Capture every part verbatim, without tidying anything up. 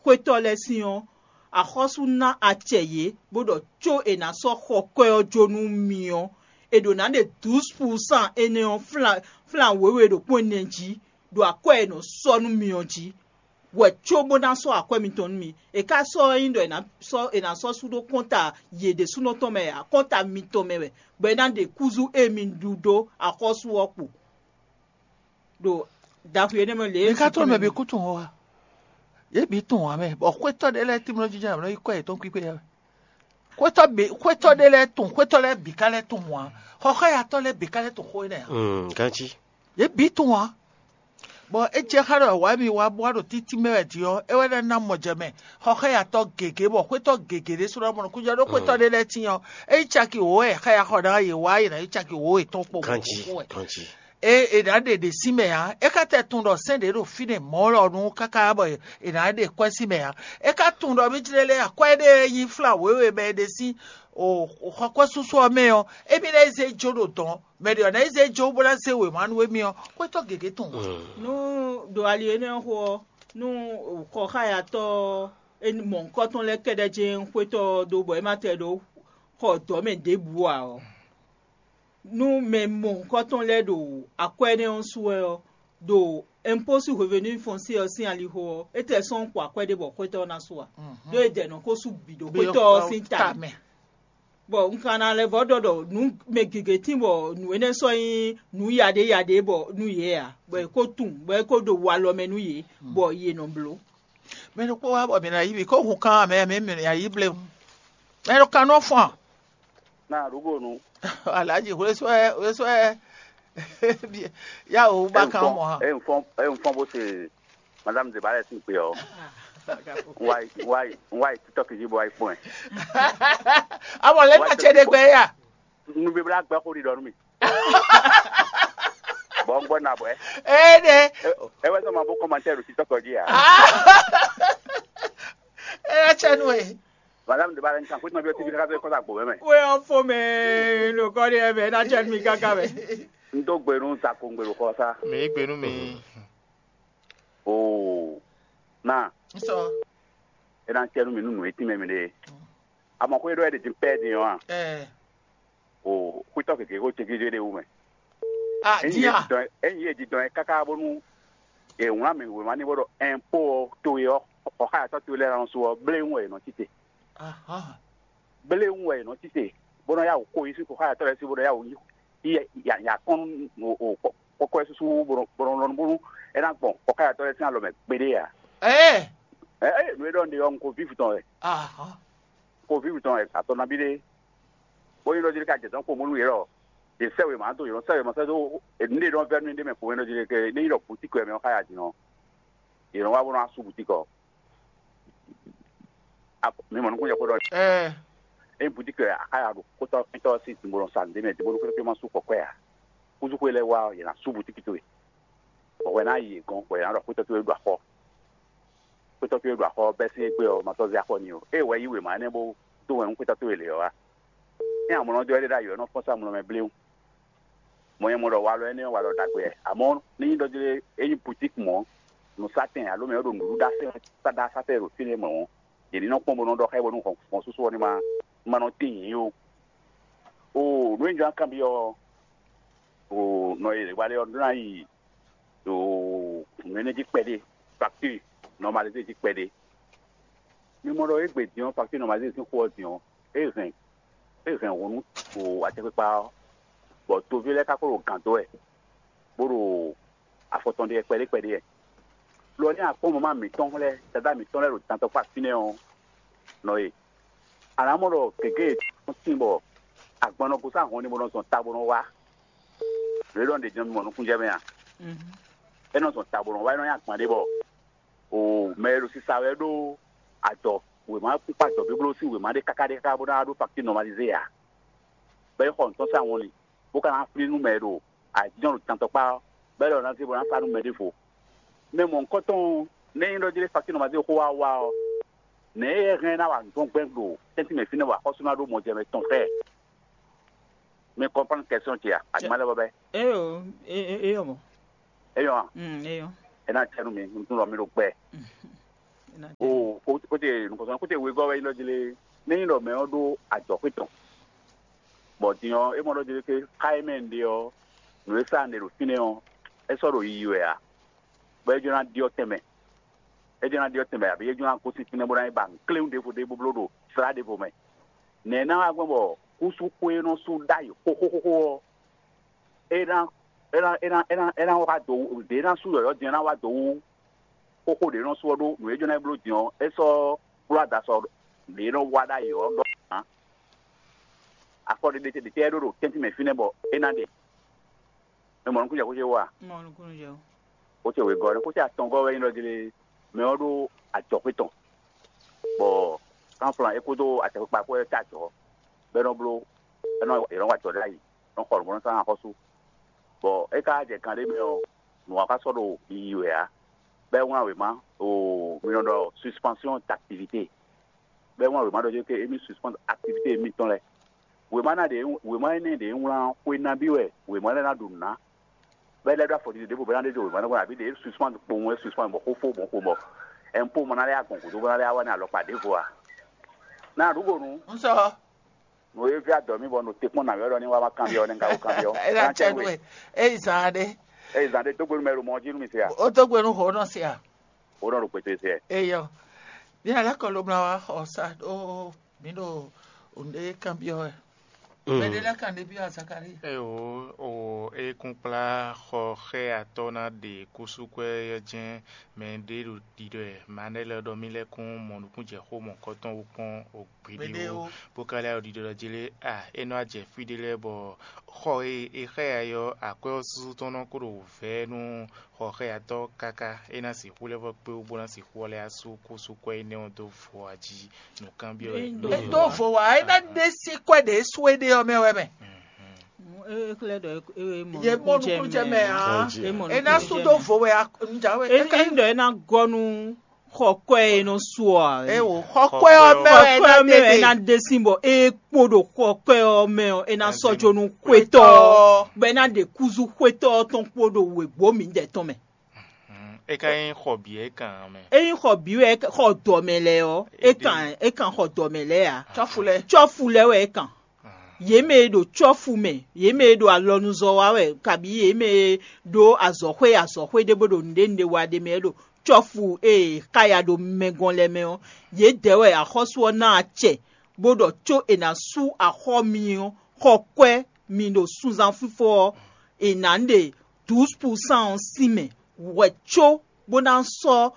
xwétɔ́ lɛ́ɛ sín ɔ́, axɔ́sú ná acɛ yě bó ɖɔ có è nǎ sɔ́ xɔ kwɛ́ ɔ́ jó nú mi ɔ́, è ɖǒ ná ɖe dǔs pulsán énɛ́ ɔ́ flán wěwe ɖo kpɔ́n ɛnɛ jí ɖo akwɛ́ e è nɔ sɔ́ nú mi ɔ́ jí, wɛ có bó ná sɔ́ akwɛ́ mitɔn nú mi. È ka sɔ́ ɔ́ nyí ɖɔ è nǎ sɔ́ è nǎ sɔ́ sú ɖó kɔ́nta yě ɖésúnɔ tɔn mɛ ǎ, kɔ́nta mitɔn mɛ wɛ, bɔ é ná ɖe kúzú e mi ɖu dó axɔ́sú ɔ́ kpo. Ɖo dǎnxwǐ énɛ́ mɛ lě e Mi ka tunwun mɛ bǐ kú tunwun ɔ́ a? Yě bǐ tunwun ǎ mɛ, bɔ xwétɔ́ ɖé lɛ́ɛ tímlɔ́ jínjɔ́n ǎ nɔ yi kwɛ́ yětɔn kpíkpé ǎ. Xwétɔ́ bǐ xwétɔ́ ɖé lɛ́ɛ tunwun, xwétɔ́ lɛ́ɛ bǐ ka lɛ́ tunwun ǎ. Xɔxɔ́yatɔ́ lɛ́ɛ bǐ ka lɛ́ tunwun xó énɛ́ ǎ. Mm, ganjí. Yě bǐ tunwun ǎ. Bɔ é jɛ xá ɖɔ wǎ mi wá bó wá ɖo títí mɛ wɛ din ɔ́, é wɛ ná ná mɔ jɛ mɛ. Xɔxɔ́yatɔ́ gěgé bɔ xwétɔ́ gěgé ɖésúnɔ mɔ nukúnjɛ ɖó xwétɔ́ ɖé lɛ́ɛ tíin ɔ́, é nyí caki wǒ wɛ xá ya xɔ ná yě wá yě ná nyí caki wǒ yětɔn kpo Ganjí, ganjí. É è nǎ ɖe ɖě sín mɛ ǎ. É ka tɛ tunwun ɖɔ sɛ́n ɖě ɖo fínɛ́ mɔ̌ lɔ nu káká bɔ è nǎ ɖe kwɛ́ sín mɛ ǎ. É ka tunwun ɖɔ mí jlɛ́ lɛ́ɛ akwɛ́ ɖé e nyí flán wěwe mɛ è ɖe sín xɔkwɛ́súsú ɔ́ mɛ ɔ́, émí ná yi zé jó ɖo dɔ̌n. Mɛ ɖě ɔ́ ná yi zé jó bó ná zé wěma nú émí ɔ́, xwétɔ́ gěgé tunwun ǎ. Nú ɖo ali énɛ́ xo ɔ́, nú xɔxáyatɔ́ mɔ̌hunkɔtɔn lɛ́ɛ kɛ́ɖɛ́ jɛ́n xwétɔ́ ɔ́ dó bɔ é ma tɛ ɖó xɔ dɔ̌ mɛ ɖěbǔ ǎ ɔ́, nú mɛ mɔ̌hunkɔtɔn lɛ́ɛ ɖo akwɛ́ énɛ́ ɔ́ su wɛ ɔ́, ɖo impôt sur revenu foncier ɔ́ sín alixo ɔ́, é tɛ sɔ́ xo akwɛ́ ɖé bɔ xwétɔ́ ɔ́ ná su ǎ. Ɖó é dɛ nɔ ko sú bǐ ɖo xwétɔ́ ɔ́ sín ta mɛ. Bɔ un ka ná lɛ́ vɔ́ ɖɔ ɖɔ nǔ mɛ gěgé tín bɔ nǔ énɛ́ sɔ́ nyí nǔ yaɖé yaɖé bɔ nú yě ǎ, bɔ è ko tunwun, bɔ é ko ɖo walɔ mɛ nú yě, bɔ yě nɔ bló. Mɛ ɖokpó wá bɔ mǐ ná yí bǐ kó hun kan mɛ mǐ mǐ ná yí bléwún. Mɛ ɖo kan nɔ fɔn. Na ɖugo nu. Alhaji hwesɔɛ hwesɔɛ. Ya o ba kan mɔ ha. E n fɔn e n fɔn bó se madame de balẹ sin pe ɔ. N wa yi n wa yi n wa yi tiktok ji bɔ wa yi kpɔn ɛ. Awɔ lɛ ma tse ɖe gbɛ ya. Nubibla gbɛ xo ɖiɖɔ nú mi. Bɔ n gbɔ na bɔ ɛ. Ee ɖe. E wɛ sɔ ma bó kɔmantɛ ɖo tiktok ji ya. Ela tsɛ nu e. Madame de balɛ n kan xwetɔn bi ɔ ti bi kaka sɔ kɔsa gbo mɛ. Wé ɔ́ fó mɛ ɖo kɔ́ ɖé ɛmɛ ná jɛ mi káká mɛ. N dó gbe nú Zako n gbe ɖo xɔ sá. Mǐ yí gbe nú mi. Oo. Na. N sɔ. E ná cɛ nú mi nú nǔ e tín mɛ mi ɖe. Amɔ xwé ɖɔ ɛ ɖe dín pɛ́ din ɔ́ a? Ɛɛ. O xwítɔ́ gěgé xó céjéjé ɖé wú mɛ. Ah, Ényí yě diya. Didɔn ényí yě didɔn ɛ káká bónú è wlán mɛ wěma ní bó ɖɔ ɛnpó ɔ́ towe ɔ́, xɔxáyatɔ́ towe lɛ́ɛ ná nɔ sú ɔ́, bléwún wɛ è nɔ tite. Aha. Bléwún wɛ è nɔ tite, bó nɔ yá wǔ xo yi sín xɔxáyatɔ́ lɛ́ɛ sí bó nɔ yá wǔ yí yí ya ya kɔn nú o o kɔkɔ́ ɛ súsú bó nɔ bó nɔ lɔn bónú é ná gbɔn xɔxáyatɔ́ lɛ́ɛ sín alɔ mɛ kpéɖé ǎ. Ɛɛ. Ɛ ɛ nǔ e ɖɔ un ɖe ɔ́, un ko vívu tɔn wɛ. Aha. Ko vívu tɔn wɛ atɔ nabí ɖé. Bó nyí ɖɔ jí ka jɛ dɔn kpo mɔ nú yě lɔ. Yě sɛ wěma dó yě nɔ sɛ wěma sɛ dó nǔɖé nɔ vɛ́ nú ɖé mɛ kpo mɛ ɖɔ jí ke ní nyí ɖɔ boutique wɛ mɛ ɔ́ xá ya din ɔ́, yě nɔ wá bó nɔ wá sú boutique ɔ́. Mi mɔ nukúnjɛ xó ɖɔ. Ɛɛ. Ényí boutique wɛ a xá ya ɖo kótɔ́ kútɔ́ sín dǐnbó nɔ sa nǔɖé mɛ dǐnbó nú xwéfé ma sú kɔkwɛ ǎ. Kúzú xwé lɛ́ɛ wá ɔ́, yě ná sú boutique towe. Bɔ hwɛ ná yi gɔn bɔ yě ná ɖɔ xwétɔ́ towe ɖo axɔ. Xwétɔ́ towe ɖo axɔ bɛ́ sín égbé ɔ́, ma sɔ́ zé axɔ n'i ó. Ée wɛ yí wěma énɛ́ bó dó wɛn nú xwétɔ́ towe lě ɔ́ wá. Ényí amlɔ dó wɛ ɖé ɖ'ayǐ ɔ́, é nɔ fɔ́n sá amlɔ mɛ bléwún. Mɔ̌ nyɛ mɔ ɖɔ walɔ énɛ́ ɔ́, walɔ ɖagbe wɛ. Amɔ̌, ní nyí ɖɔ jlé é nyí butíki mɔ̌, nǔsátɛn alo mɛ e ɖo nǔɖuɖu ɖa sɛn ɖa sátɛn ɖo fínɛ́ mɔ̌ ɔ́, yě ní nɔ kpɔ́n bó nɔ ɖɔ xá ɛ bónú hɔn sɔ́sɔ́ ní ma ma nɔ tíin yě ó. Oo, nǔ e un jló ná kanbyɔ́ ɔ́, oo, nɔ e wa lɛ́ɛ ɔ́ ɖó ná yi ɖo nǔ énɛ́ jí kpɛɖé, facture normalisé jí kpɛɖé. Mi mɔ ɖɔ égbé din ɔ́, facture normalisé sín xó ɔ́ din ɔ́, é hɛn é hɛn hǔn nú acɛkpikpa ɔ́, bɔ toví lɛ́ɛ ka ko ɖo gǎn dó wɛ, bó ɖo afɔ tɔn ɖe wɛ kpɛɖé kpɛɖé wɛ. Lo ɔ́, ní akpɔ́n mama mǐtɔn lɛ́ɛ, Dadá mǐtɔn lɛ́ɛ ɖo dantɔkpá fínɛ́ ɔ́, nɔ e. A nǎ mɔ ɖɔ gěgé e tɔ́n tíin bɔ agban nɔ gosín ahɔn ní bó nɔ zɔn ta bó nɔ wá. Nǔ e ɖɔ un ɖe din ɔ́, mi mɔ nukúnjɛ mɛ a? É nɔ zɔn ta bó nɔ wá, é nɔ nyí agban ɖé bɔ o mɛ e ɖo sisa wɛ ɖó adɔ wěma kpíkpá adɔ blíbló sín wěma ɖé káká ɖé káká bó ná wá ɖó faktír nɔmalizé ǎ. Bɔ é xɔ nǔtɔn sín awɔnlin, bó ka ná flín nú mɛ e ɖo ayǐjínjɔ́n ɖo tantɔkpá ɔ́, bɔ é lɔ ná zé bó ná sa nú mɛ ɖěvo. Mɛ mɔ̌hunkɔtɔn ɔ́, nɛ̌ nyí ɖɔ jlé fakír nɔmazé xó wá wá ɔ́, nɛ̌ é hɛn ná wa nǔ tɔn gbɛn ɖo tɛ́ntin mɛ fínɛ́ bɔ axɔ́sú ná ɖó mɔjɛmɛ tɔn xá ɛ? Mi kɔnpɔn kɛsɔn ce a? Aduma lɛ bɔ bɛ. Eyo, eyo mɔ. Eyɔ a? Mm, eyo. Ena cɛ nu mi, n tun lɔ mi ɖo gbɛ. Ena cɛ. O, Kóte nukɔntɔn kóte wegɔ́ wɛ nyí ɖɔ jlé, nɛ́ nyí ɖɔ mɛ ɔ́ ɖó ajɔ̌xwé tɔn, bɔ din ɔ́, é mɔ ɖɔ jlé ké xá e mɛ un ɖe ɔ́, nǔ e sa un ɖe ɖo fínɛ́ ɔ́, é sɔ́ ɖo yiyi wɛ ǎ, bɔ é jló ná ɖyɔ́ tɛnmɛ. É jló ná ɖyɔ́ tɛnmɛ, abǐ é jló ná gosín fínɛ́ bó ná yi ba nǔkléwún ɖěvo ɖé bó bló ɖo slá ɖěvo mɛ. Nɛ̌ ná wá gbɔn bɔ kúsú xwé e nɔ sú ɖ'ayǐ xóxóxóxó ɔ́, é ná é ná é ná é ná é ná wá dó wú, ɖě ná sú yɔ̌yɔ́ din ɔ́ ná wá dó wú xóxó ɖě nɔ sú ɔ́ ɖó nǔ e jɔ́n ná bló din ɔ́, é sɔ́ kplɔ́ ada sɔ ɖě nɔ wá ɖ'ayǐ ɔ́ ɖɔ ǎ. Afɔ ɖé ɖé ɖé tɛ́ é ɖó ɖo tɛ́ntin mɛ fínɛ́ bɔ é ná ɖe. É mɔ nukúnjɛ xó ce wú a? Mɔ nukúnnú jɛ o. Xó ce wěgɔ́ ɔ́, xó ce atɔngɔ́ wɛ nyí ɖɔ jlé mɛ ɔ́ ɖó ajɔ̌xwé tɔn, bɔ kánflan é kpódó acɛkpikpa kpó wɛ tá ajɔ̌, bɔ é nɔ bló é nɔ yě nɔ wa ajɔ̌ ɖ'ayǐ, nɔ xɔ nǔ bó nɔ sán axɔ́sú. Bɔ é ka jɛ kan ɖé mɛ ɔ́, nǔ ɔ́ ka sɔ́ ɖo yiyi wɛ ǎ. Bɔ é wlán wěma ɖo mi nɔ ɖɔ suspension d'activité, bɔ é wlán wěma ɖɔ jɛ́n ké émí suspend activité émítɔn lɛ́ɛ. Wěma ná ɖe wěma énɛ́ ɖě wlán xwe nabí wɛ wěma lɛ́ɛ ná ɖu nǔ ná, bɔ é lɛ́ ɖó afɔɖiɖi ɖěvo bɔ é ná ɖe ɖo wěma lɛ́ɛ wlán abǐ ɖě suspend kpowun wɛ suspend bɔ xófó bɔ xo bɔ ɛnpó ma ná lɛ́ agbɔn gǔdo bó ná lɛ́ wá ní alɔkpa ɖěvo a? Ná ɖu go nú Un sɔ. Nǔ e vɛ́ adɔ mì bɔ nɔ te kpɔ́n nǎ wɛ ɖɔ ní wá ma kanbyɔ́ nɛ́ un ka ko kanbyɔ́. É ná cɛ nú we. É yi zan ɖé. Eye zan ɖé dó gbe nú mɛ e ɖo mɔ ɔ́ jí nú mi se a? Ó dó gbe nú hǒ nɔ se a? Ó nɔ ɖo kpɛtɛ se. Eyɔ. Bí alá kɔ ló mla wá xɔ sa ɖó mǐ ɖo nǔɖé kanbyɔ́ wɛ. Mɛ ɖé lɛ́ɛ kan ɖé byɔ́ Zakalíi. Eo, o e kún kplá xɔ xɛ atɔ́ ná ɖe kúsúkwɛ́ ɔ́ jɛ́n mɛ ɖé ɖo ɖiɖɔ ɛ Manɛ́lɛ ɖɔ mì lɛ́ kún mɔ nukúnjɛxó mɔ̌kɔtɔn wú kpɔ́n o gbeɖé Gbeɖé wú, ó. Bó ka lɛ́ ɖo ɖiɖɔ jí lé a, é nɔ wá jɛ fí ɖé lɛ́ɛ bɔ xɔ e è xá ɛ ɔ́, akwɛ́ ɔ́ súsú tɔn nɔ kó ɖo vɛ̌ nú xɔxɛyatɔ́ káká é ná sixú lɛ́ vɔ́ kpé wú bó ná sixú ɔ́ lɛ́ asú kúsúkwɛ́ énɛ́ ɔ́ dó vo ají nǔkanbyɔ́ wɛ. É dó vo wá, é ná ɖe sí kwɛ́ ɖě sú é ɖe ɔ́ mɛ wɛ mɛ. É xlɛ́ ɖɔ é mɔ Yě mɔ nukúnjɛ nukúnjɛ mɛ ǎ. É mɔ É ná nukúnjɛ sú dó mɛ. Vo wɛ a- un jǎwe. É É ká- é ɖɔ é ná gɔ́ nú xɔ kwɛ́ e nɔ su ɔ́ ǎ. É wò xɔ kwɛ́ ɔ́ mɛ wɛ é Xɔ ná kwɛ́ ɔ́ mɛ wɛ é ɖe ná ɖe sín bɔ é kpó ɖo xɔ kwɛ́ ɔ́ mɛ ɔ́, é ná sɔ́ jó nú xwétɔ́ ɔ́, bɔ é ná ɖe kúzú xwétɔ́ ɔ́ tɔn kpó ɖo wěgbó mǐdɛɛ tɔn mɛ. É ka nyí xɔ bǐ é kan ǎ mɛ. Ényí xɔ bǐ wɛ é ka- xɔ dɔ mɛ lɛ́ɛ ɔ́, é kan é kan xɔ dɔ mɛ lɛ́ɛ ǎ. Cɔ́fu lɛ́ɛ. Cɔ́fu lɛ́ɛ wɛ é kan. Yě mɛ e ɖo cɔ́fu mɛ, yě mɛ e ɖo alɔnuzɔ́ wa wɛ, kabǐ yě mɛ e ɖó azɔ̌xwé azɔ̌xwé ɖé bó ɖo nǔɖé nǔɖé wa ɖ'é mɛ é ɖo cɔ́fu e è xáya ɖo mɛ gɔ́n lɛ́ɛ mɛ ɔ́, yědɛɛ wɛ axɔ́sú ɔ́ ná acɛ, bó ɖɔ có è nǎ sú axɔ́ mi ɔ́, xɔ kwɛ́ mi ɖo sunzán fífó ɔ́, è nǎ ɖe dǔs pusán ɔ́ sín mɛ hwɛ̌ có bó ná sɔ́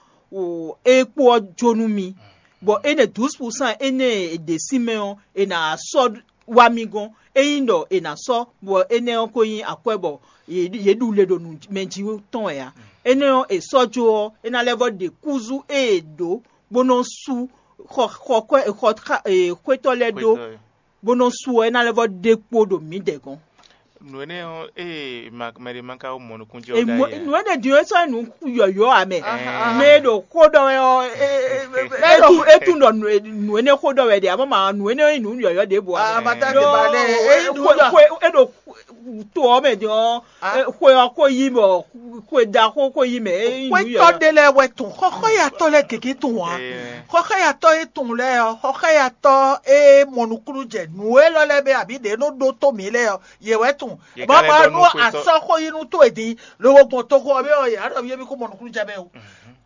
é kpó ɔ́ jó nú mi. Bɔ énɛ́ dǔs pusán énɛ́ e è ɖe sín mɛ ɔ́, è nǎ sɔ́ wá mì gɔ́n. Ényí ɖɔ è nǎ sɔ́, bɔ énɛ́ ɔ́ ko nyí akwɛ́ bɔ yě ɖu le ɖo nǔ mɛ jí tɔn wɛ ǎ. Énɛ́ ɔ́, è sɔ́ jó ɔ́, é ná lɛ́ vɔ́ ɖe kúzú e è ɖǒ bó nɔ́ sú xɔ xɔ kwɛ́ xɔ xwétɔ́ lɛ́ɛ ɖó, bó nɔ́ sú ɔ́, é ná lɛ́ vɔ́ ɖe kpó ɖo mǐdɛɛ gɔ́n. Nǔ énɛ́ ɔ́, ée ma- mɛ ɖé ma ka mɔ nukúnjɛ ɔ́ Emu- ɖ'ayǐ ǎ. Nǔ énɛ́ din ɔ́, é sɔ́ nyi nǔ yɔ̌yɔ́ ame. Ɛɛ. Mɛ e ɖo xó ɖɔ wɛ ɔ́, e- e- e- e- e- e- tunwun ɖɔ nǔ e- nǔ énɛ́ xó ɖɔ wɛ ɖe, amɔ́ ma nǔ énɛ́ nyí nǔ yɔ̌yɔ́ ɖěbǔ ǎ. Ah, ma ta Ɖó te ba lɛ, e- e- nǔ xwe- ɖɔ- xwe- e ɖo to ɔ́ mɛ din ɔ́, Ah. e- xwe ɔ́ ko yí bɔ xwe ɖaxó ko yí mɛ, é nyí nǔ Xwétɔ́ yɔ̌yɔ́. Ɖé lɛ́ɛ wɛ tun, xɔxɔ́yatɔ́ lɛ́ɛ gěgé tun ǎ. Ɛɛ. Xɔxɔ́yatɔ́ e tun lɛ́ɛ ɔ́, xɔxɔ́yatɔ́ e mɔ nukúnnú jɛ nǔ élɔ́ lɛ́ɛ mɛ abǐ ɖě nɔ ɖó tó mǐ lɛ́ɛ ɔ́, yě wɛ tun. Yě Bɔ ka lɛ́ ma ɖɔ nú nú xwétɔ́- asɔ́ xó yi nú tó e din, lobo gbɔn toxo ɔ́ mɛ ɔ́, yě á ɖɔ yé mì kó mɔ nukúnnú jɛ mɛ o.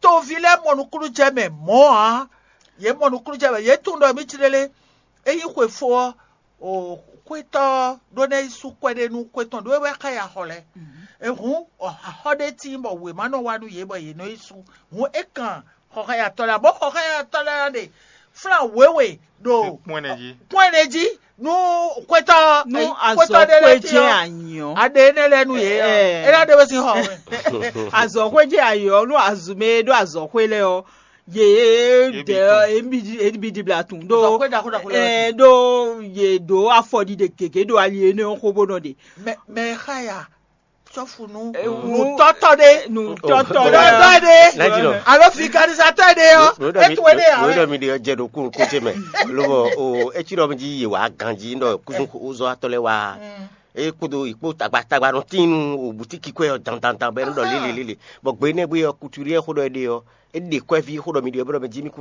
Toví lɛ́ɛ mɔ nukúnnú jɛ mɛ mɔ̌ ǎ. Yě mɔ nukúnnú jɛ mɛ, yě tunwun ɖɔ mǐ ci lélé. Ényí xwe fó ɔ́, o xwétɔ́ ɔ́ ɖó ná yi sú kwɛ́ ɖé nú xwé tɔn ɖó é wɛ xá yi axɔ lɛ́ɛ. Ehǔn, axɔ́ ɖé tíin bɔ wěma nɔ wá nú yě bɔ yě nɔ yi sú. Hǔn é kan xɔxɔyatɔ́ lɛ́ɛ, bɔ xɔxɔyatɔ́ lɛ́ɛ ná ɖe flán wěwe ɖo Kpɔ́n ɛnɛ jí. Kpɔ́n ɛnɛ jí nú xwétɔ́ Nú xwétɔ́ ɖé lɛ́ɛ azɔ̌xwé tíin jɛ ɔ́, anyǐ ɔ́, aɖe énɛ́ lɛ́ɛ nú yě ɔ́, Ɛɛ. É ná ɖe wezin xɔ wɛ. Azɔ̌xwé jɛ ayǐ ɔ́, nú azu mɛ e ɖó azɔ̌xwé lɛ́ɛ ɔ́, yě Yě bǐ dɛ tɔn. Yě bǐ di- yě bǐ di bla tun ɖó Azɔ̌xwé ɖaxó ɖaxó lɛ́ɛ ɛ, ɖó yě ɖó afɔɖiɖe gěgé ɖo ali énɛ́ ɔ́ xó bó nɔ ɖe. Mɛ mɛ e xá ya cɔ́fu nú Ɛ, wú- nǔtɔ́tɔ́ ɖé. Nǔtɔ́tɔ́ Nǔtɔ́tɔ́ ɖé. Lɛ́ jí nɔ. Alo vulgarisatɔ́ ɖé ɔ́, Nǔ- nǔ ɖɔ mi- étú éɖé ǎ nǔ- nǔ wɛ. Ɖɔ mi ɖe jɛ ɖo kú kó ce mɛ. Lobɔ o etí ɖɔ mi jí yě wá ganjí ɖɔ kúzú ozɔ́ atɔ́ lɛ́ɛ wá. É kpódó ìkpó tagba tagba nɔ tín nú o butiki kwɛ ɔ́ dandandan bɔ é nɔ ɖɔ lélelélele. Bɔ gbe énɛ́ gbe ɔ́, kuturi ɛ xó ɖɔ é ɖe ɔ́, é ɖe kwɛ́ví xó ɖɔ mi ɖe ɔ́, bɔ mi jí mi kú